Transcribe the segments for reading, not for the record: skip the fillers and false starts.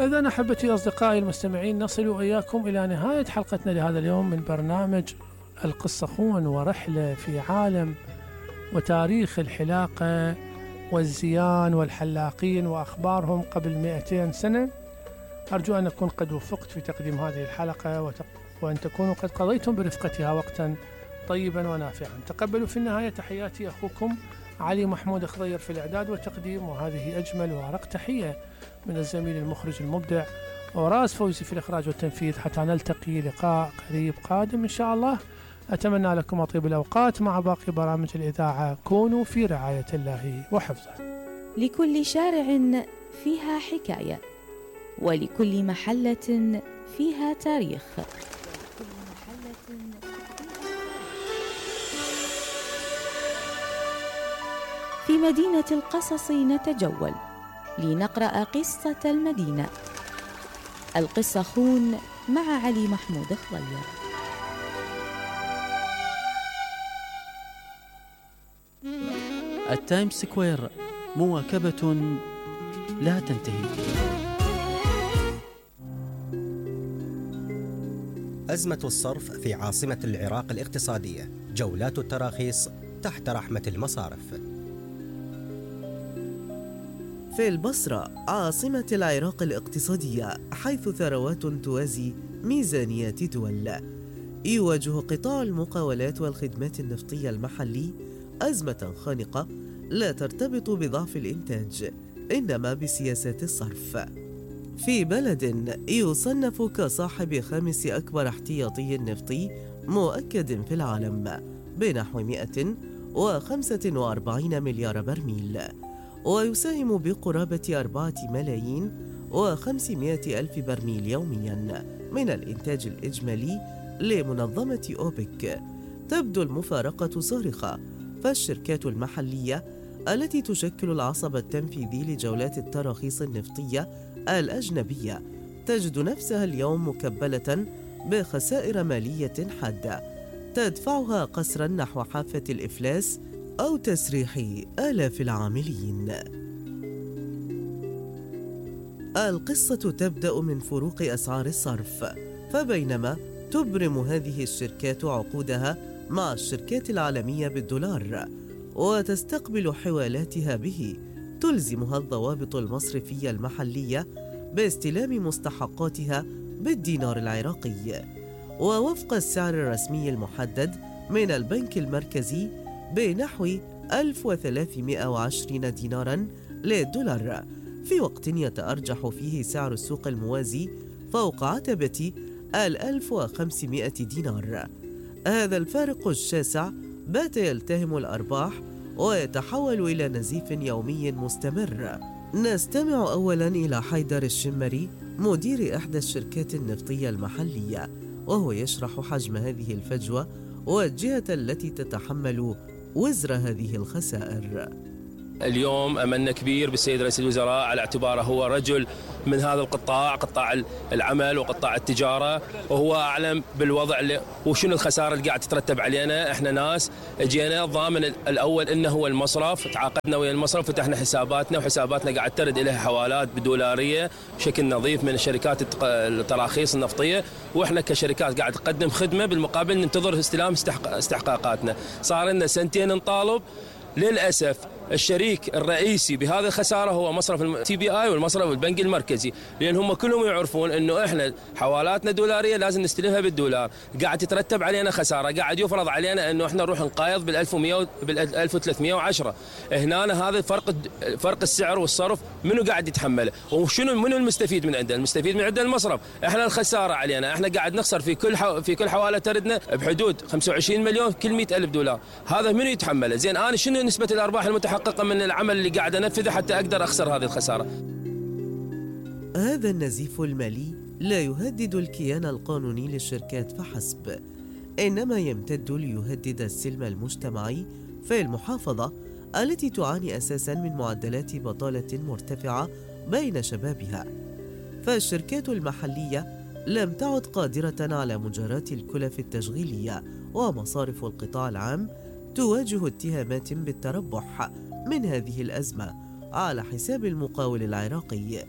إذن أحبتي أصدقائي المستمعين، نصل وإياكم إلى نهاية حلقتنا لهذا اليوم من برنامج القصة خون، ورحلة في عالم وتاريخ الحلاقة والزيان والحلاقين وأخبارهم قبل 200 سنة. أرجو أن أكون قد وفقت في تقديم هذه الحلقة وأن تكونوا قد قضيتم برفقتها وقتا طيبا ونافعا. تقبلوا في النهاية تحياتي أخوكم علي محمود خضير في الإعداد والتقديم، وهذه أجمل وأرق تحية من الزميل المخرج المبدع وراس فوزي في الإخراج والتنفيذ. حتى نلتقي لقاء قريب قادم إن شاء الله، أتمنى لكم أطيب الأوقات مع باقي برامج الإذاعة. كونوا في رعاية الله وحفظه. لكل شارع فيها حكاية، ولكل محلة فيها تاريخ. في مدينة القصص نتجول لنقرأ قصة المدينة. القصة خون مع علي محمود خضير. التايمز سكوير، مواكبة لا تنتهي. أزمة الصرف في عاصمة العراق الاقتصادية، جولات التراخيص تحت رحمة المصارف. في البصرة عاصمة العراق الاقتصادية، حيث ثروات توازي ميزانيات دول، يواجه قطاع المقاولات والخدمات النفطية المحلي أزمة خانقة لا ترتبط بضعف الإنتاج، إنما بسياسات الصرف. في بلد يصنف كصاحب 5 أكبر احتياطي نفطي مؤكد في العالم بنحو 145 مليار برميل، ويساهم بقرابة 4,500,000 برميل يوميا من الإنتاج الإجمالي لمنظمة أوبك، تبدو المفارقة صارخة. فالشركات المحلية التي تشكل العصب التنفيذي لجولات التراخيص النفطية الأجنبية تجد نفسها اليوم مكبلة بخسائر مالية حادة تدفعها قسرا نحو حافة الإفلاس أو تسريح آلاف العاملين. القصة تبدأ من فروق أسعار الصرف، فبينما تبرم هذه الشركات عقودها مع الشركات العالمية بالدولار وتستقبل حوالاتها به، تلزمها الضوابط المصرفية المحلية باستلام مستحقاتها بالدينار العراقي ووفق السعر الرسمي المحدد من البنك المركزي بنحو 1320 ديناراً للدولار، في وقت يتأرجح فيه سعر السوق الموازي فوق عتبة 1500 دينار. هذا الفارق الشاسع بات يلتهم الأرباح ويتحول إلى نزيف يومي مستمر. نستمع أولاً إلى حيدر الشمري مدير إحدى الشركات النفطية المحلية، وهو يشرح حجم هذه الفجوة والجهة التي تتحمل وزر هذه الخسائر. اليوم أملنا كبير بالسيد رئيس الوزراء على اعتباره هو رجل من هذا القطاع، قطاع العمل وقطاع التجارة، وهو أعلم بالوضع وشنو الخسارة اللي قاعد تترتب علينا. احنا ناس جينا الضامن الأول إنه هو المصرف، تعاقدنا ويا المصرف، فتحنا حساباتنا وحساباتنا قاعد ترد إليها حوالات بدولارية بشكل نظيف من شركات التراخيص النفطية، واحنا كشركات قاعد نقدم خدمة بالمقابل ننتظر استلام استحقاقاتنا. صار لنا 2 نطالب. للأسف الشريك الرئيسي بهذه الخسارة هو مصرف التي بي اي والمصرف البنك المركزي، لأن هم كلهم يعرفون أنه إحنا حوالاتنا دولارية لازم نستلمها بالدولار، قاعد تترتب علينا خسارة، قاعد يفرض علينا أنه إحنا نروح نقايض بال1100 بال1310. هنا هذا فرق السعر والصرف منو قاعد يتحمله؟ منو المستفيد من عنده؟ المستفيد من عنده المصرف. إحنا الخسارة علينا، إحنا قاعد نخسر في كل حوالة تردنا بحدود 25 مليون كل 100,000 دولار. هذا منو يتحمله؟ زين أنا شنو نسبة الأرباح المتحققة من العمل اللي قاعد أنفذه حتى أقدر أخسر هذه الخسارة؟ هذا النزيف المالي لا يهدد الكيان القانوني للشركات فحسب، إنما يمتد ليهدد السلم المجتمعي في المحافظة التي تعاني أساساً من معدلات بطالة مرتفعة بين شبابها. فالشركات المحلية لم تعد قادرة على مجاراة الكلف التشغيلية، ومصارف القطاع العام تواجه اتهامات بالتربح من هذه الأزمة على حساب المقاول العراقي.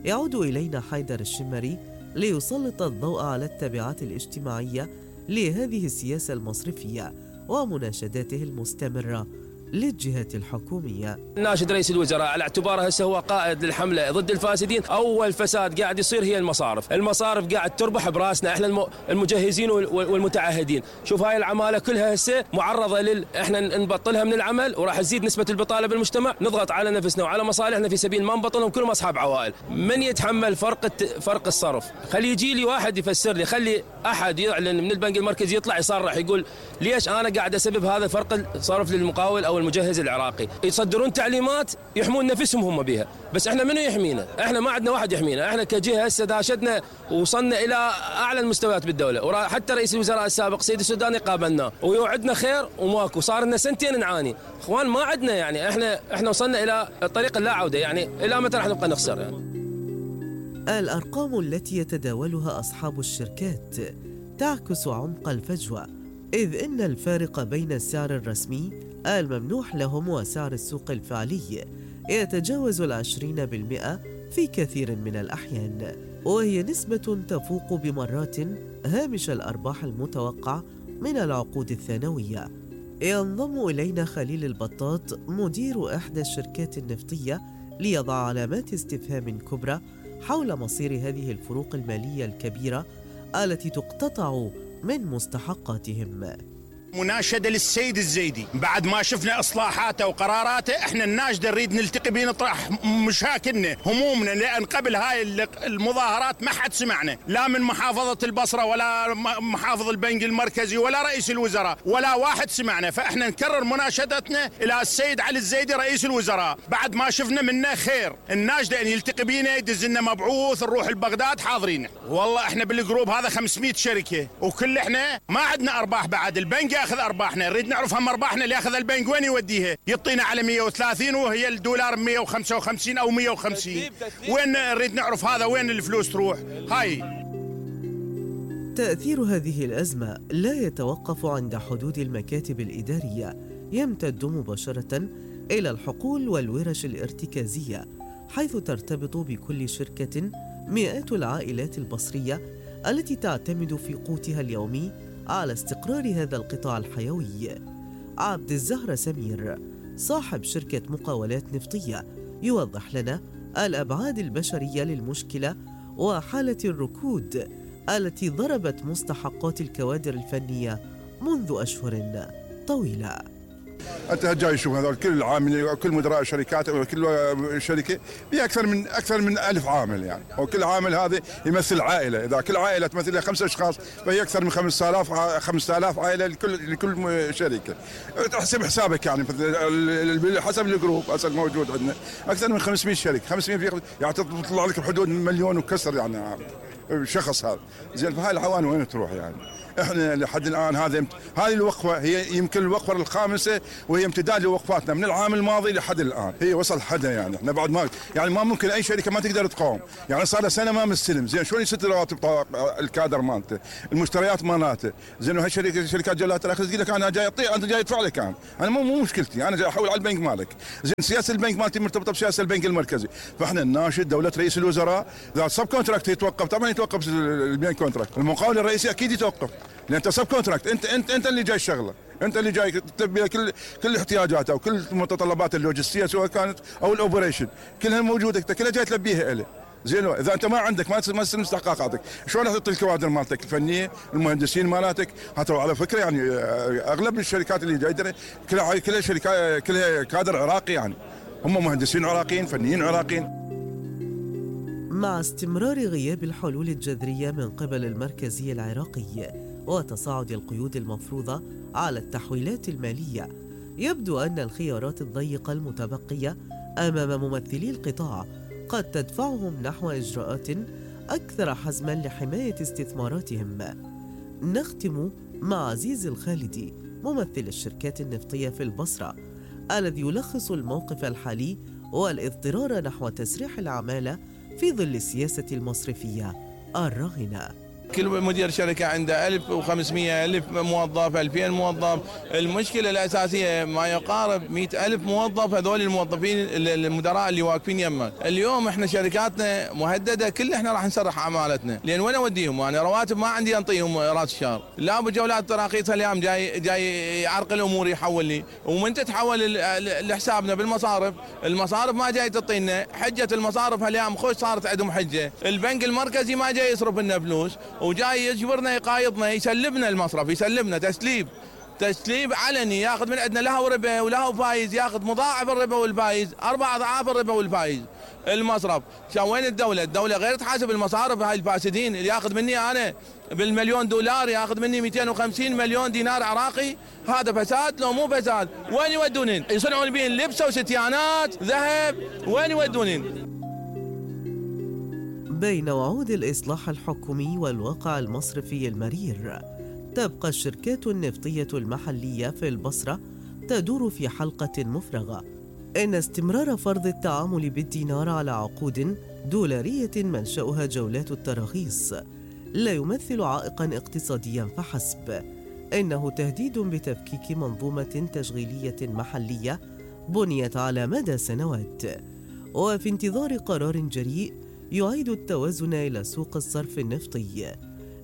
يعود إلينا حيدر الشمري ليسلط الضوء على التبعات الاجتماعية لهذه السياسة المصرفية ومناشداته المستمرة للجهات الحكومية. ناشد رئيس الوزراء على اعتباره هسه هو قائد للحملة ضد الفاسدين. أول فساد قاعد يصير هي المصارف قاعد تربح براسنا احنا المجهزين والمتعهدين. شوف هاي العمالة كلها هسه معرضة احنا نبطلها من العمل وراح تزيد نسبة البطالة بالمجتمع، نضغط على نفسنا وعلى مصالحنا في سبيل ما نبطلهم كلهم أصحاب عوائل. من يتحمل فرق الصرف؟ خلي يجي لي واحد يفسر لي، خلي أحد يعلن من البنك المركزي يطلع يصرح يقول ليش أنا قاعد أسبب هذا فرق الصرف للمقاول أو المجهز العراقي. يصدرون تعليمات يحمون نفسهم هم بها، بس احنا منو يحمينا؟ احنا ما عندنا واحد يحمينا. احنا كجهه هسه داشتنا ووصلنا الى اعلى المستويات بالدوله، وحتى رئيس الوزراء السابق سيد السوداني قابلناه ويوعدنا خير وماكو، صار لنا سنتين نعاني. اخوان ما عندنا يعني احنا وصلنا الى الطريق اللا عوده، يعني الى متى راح نبقى نخسر يعني؟ الارقام التي يتداولها اصحاب الشركات تعكس عمق الفجوه، إذ إن الفارق بين السعر الرسمي الممنوح لهم وسعر السوق الفعلي يتجاوز 20% في كثير من الأحيان، وهي نسبة تفوق بمرات هامش الأرباح المتوقع من العقود الثانوية. ينضم إلينا خليل البطاط مدير إحدى الشركات النفطية ليضع علامات استفهام كبرى حول مصير هذه الفروق المالية الكبيرة التي تقتطع من مستحقاتهم. مناشدة للسيد الزيدي بعد ما شفنا إصلاحاته وقراراته، إحنا الناشدة نريد نلتقي بيه نطرح مشاكلنا همومنا، لأن قبل هاي المظاهرات ما حد سمعنا لا من محافظة البصرة ولا محافظ البنك المركزي ولا رئيس الوزراء ولا واحد سمعنا. فإحنا نكرر مناشدتنا إلى السيد علي الزيدي رئيس الوزراء بعد ما شفنا منه خير. الناشدة أن يلتقي بينا يدز لنا مبعوث نروح لبغداد حاضرين. والله إحنا بالجروب هذا 500 شركة وكل إحنا ما عندنا أرباح، بعد البنك ياخذ ارباحنا، نريد نعرف هم ارباحنا اللي ياخذ البنك وين يوديها؟ يعطينا على 130 وهي الدولار 155 او 150. وين نريد نعرف هذا وين الفلوس تروح؟ هاي تأثير هذه الأزمة لا يتوقف عند حدود المكاتب الإدارية، يمتد مباشرة إلى الحقول والورش الارتكازية، حيث ترتبط بكل شركة مئات العائلات البصرية التي تعتمد في قوتها اليومي على استقرار هذا القطاع الحيوي. عبد الزهر سمير صاحب شركة مقاولات نفطية يوضح لنا الأبعاد البشرية للمشكلة وحالة الركود التي ضربت مستحقات الكوادر الفنية منذ أشهر طويلة. انت جاي تشوف هذول كل العاملين كل مدراء الشركات وكل شركه بها اكثر من 1000 عامل يعني، وكل عامل هذا يمثل عائله، اذا كل عائله تمثل لها 5 اشخاص فهي اكثر من 5000 عائله لكل شركه. تحسب حسابك يعني حسب الجروب هسه موجود عندنا اكثر من 500 شركه، 500 يعني تطلع لك بحدود مليون وكسر يعني شخص هذا. زين فهاي العوان وين تروح يعني؟ احنا لحد الان هذه الوقفه هي يمكن الوقفه الخامسه وهي امتداد لوقفاتنا من العام الماضي لحد الان، هي وصل حدها يعني احنا بعد ما ممكن اي شركه ما تقدر تقاوم، يعني صار لها سنه ما مستلم، زين شلون يسد رواتب الكادر مالته، المشتريات مالته، زين وهي شركات جلات الاخر تقول لك انا جاي اعطي انت جاي ادفع لك، انا مو مشكلتي، انا جاي احول على البنك مالك، زين سياسه البنك مالتي مرتبطه بسياسه البنك المركزي، فاحنا نناشد دوله رئيس الوزراء اذا سب كونتراكت يتوقف، طبعا يتوقف البنك كونتراكت، المقاول الرئيسي اكيد يتوقف، لان انت سب كونتراكت، انت اللي جاي الشغله، انت اللي جاي تلبي كل احتياجاته وكل متطلبات اللوجستيه سواء كانت او الاوبريشن كلها موجوده، انت كلها جاي تلبيها له. زين اذا انت ما عندك ما تستلم استحقاقاتك شلون راح تعطي الكوادر مالتك الفنيه المهندسين مالتك؟ حتى على فكره يعني اغلب الشركات اللي جايه كلها شركات كلها كادر عراقي، يعني هم مهندسين عراقيين فنيين عراقيين. مع استمرار غياب الحلول الجذريه من قبل المركزي العراقي وتصاعد القيود المفروضة على التحويلات المالية، يبدو أن الخيارات الضيقة المتبقية أمام ممثلي القطاع قد تدفعهم نحو إجراءات أكثر حزماً لحماية استثماراتهم. نختم مع عزيز الخالدي ممثل الشركات النفطية في البصرة الذي يلخص الموقف الحالي والاضطرار نحو تسريح العمالة في ظل السياسة المصرفية الراهنة. كل مدير شركة عنده 1500 1000 موظف 2000 موظف. المشكلة الأساسية ما يقارب 100,000 موظف، هذول الموظفين المدراء اللي واقفين يمه. اليوم احنا شركاتنا مهددة، كل احنا راح نسرح أعمالتنا، لأن وين أوديهم؟ أنا رواتب ما عندي أنطيهم راس الشهر. لا بجولات التراخيص اليوم جاي يعرق الأمور يحول لي، ومن تتحول لحسابنا بالمصارف، المصارف ما جاي تعطينا حجة. المصارف هاليوم خوش صارت عندهم حجة، البنك المركزي ما جاي يصرف لنا فلوس، وجاي يجبرنا يقايضنا، يسلبنا المصرف، يسلبنا تسليب علني، ياخذ من عندنا له ربا وله فايز، ياخذ مضاعف الربا والفايز، 4 أضعاف الربا والفايز. المصرف وين الدولة غير تحاسب المصارف هاي الفاسدين. اللي ياخذ مني انا بالمليون دولار ياخذ مني 250 مليون دينار عراقي، هذا فساد لو مو فساد؟ وين يودونين؟ يصنعون بين لبسه وستيانات ذهب، وين يودونين؟ بين وعود الإصلاح الحكومي والواقع المصرفي المرير، تبقى الشركات النفطية المحلية في البصرة تدور في حلقة مفرغة. إن استمرار فرض التعامل بالدينار على عقود دولارية منشأها جولات التراخيص لا يمثل عائقاً اقتصادياً فحسب، إنه تهديد بتفكيك منظومة تشغيلية محلية بنيت على مدى سنوات. وفي انتظار قرار جريء يعيد التوازن إلى سوق الصرف النفطي،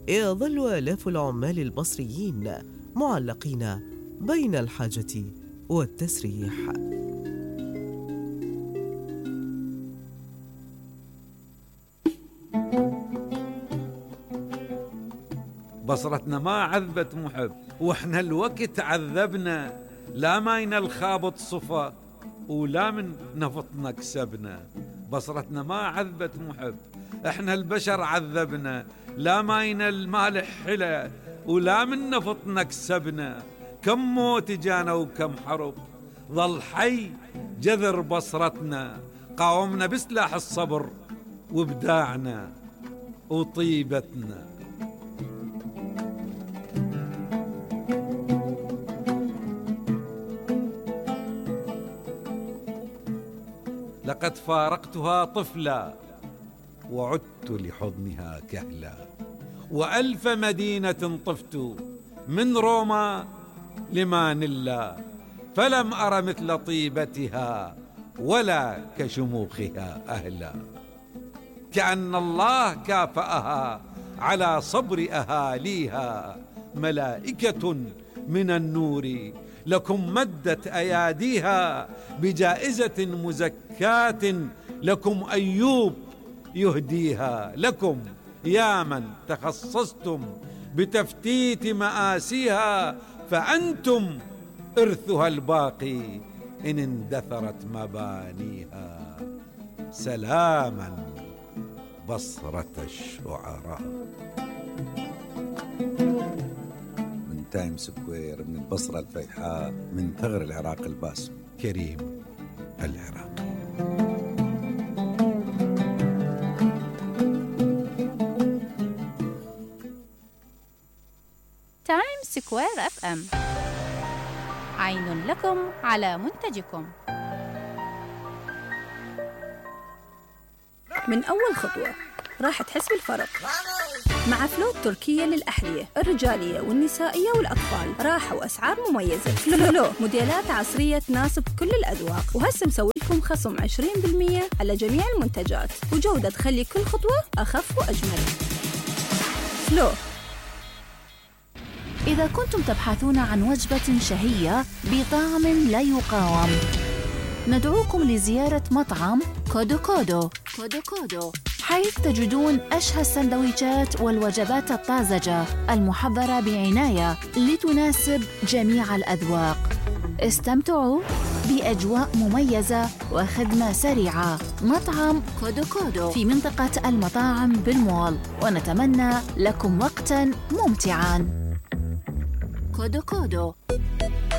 يظل آلاف العمال البصريين معلقين بين الحاجة والتسريح. بصرتنا ما عذبت محب، واحنا الوقت عذبنا، لا ماينا الخابط صفا ولا من نفطنا كسبنا. بصرتنا ما عذبت محب، احنا البشر عذبنا، لا ماينا المالح حلا ولا من نفطنا كسبنا. كم موت جانا وكم حرب، ظل حي جذر بصرتنا، قاومنا بسلاح الصبر وابداعنا وطيبتنا. لقد فارقتها طفلا وعدت لحضنها كهلا، وألف مدينة طفت من روما لمانيلا، فلم أر مثل طيبتها ولا كشموخها أهلا. كأن الله كافأها على صبر أهاليها، ملائكة من النور لكم مدت أياديها، بجائزة مزكاة لكم أيوب يهديها. لكم يا من تخصصتم بتفتيت مآسيها، فأنتم إرثها الباقي إن اندثرت مبانيها. سلاما بصرة الشعراء. من تايم سكوير، من البصرة الفيحاء، من ثغر العراق الباسم، كريم العراقي. تايم سكوير FM، عين لكم على منتجكم. من أول خطوة راح تحس بالفرق مع فلو التركية للأحذية الرجالية والنسائية والأطفال. راحة وأسعار مميزة. فلو موديلات عصرية تناسب كل الأذواق، وهسه مسوي لكم خصم 20% على جميع المنتجات، وجودة تخلي كل خطوة أخف وأجمل. فلو. إذا كنتم تبحثون عن وجبة شهية بطعم لا يقاوم، ندعوكم لزيارة مطعم كودو كودو، حيث تجدون أشهى السندويشات والوجبات الطازجة المحضرة بعناية لتناسب جميع الأذواق. استمتعوا بأجواء مميزة وخدمة سريعة. مطعم كودو كودو في منطقة المطاعم بالمول، ونتمنى لكم وقتاً ممتعاً. كودو كودو.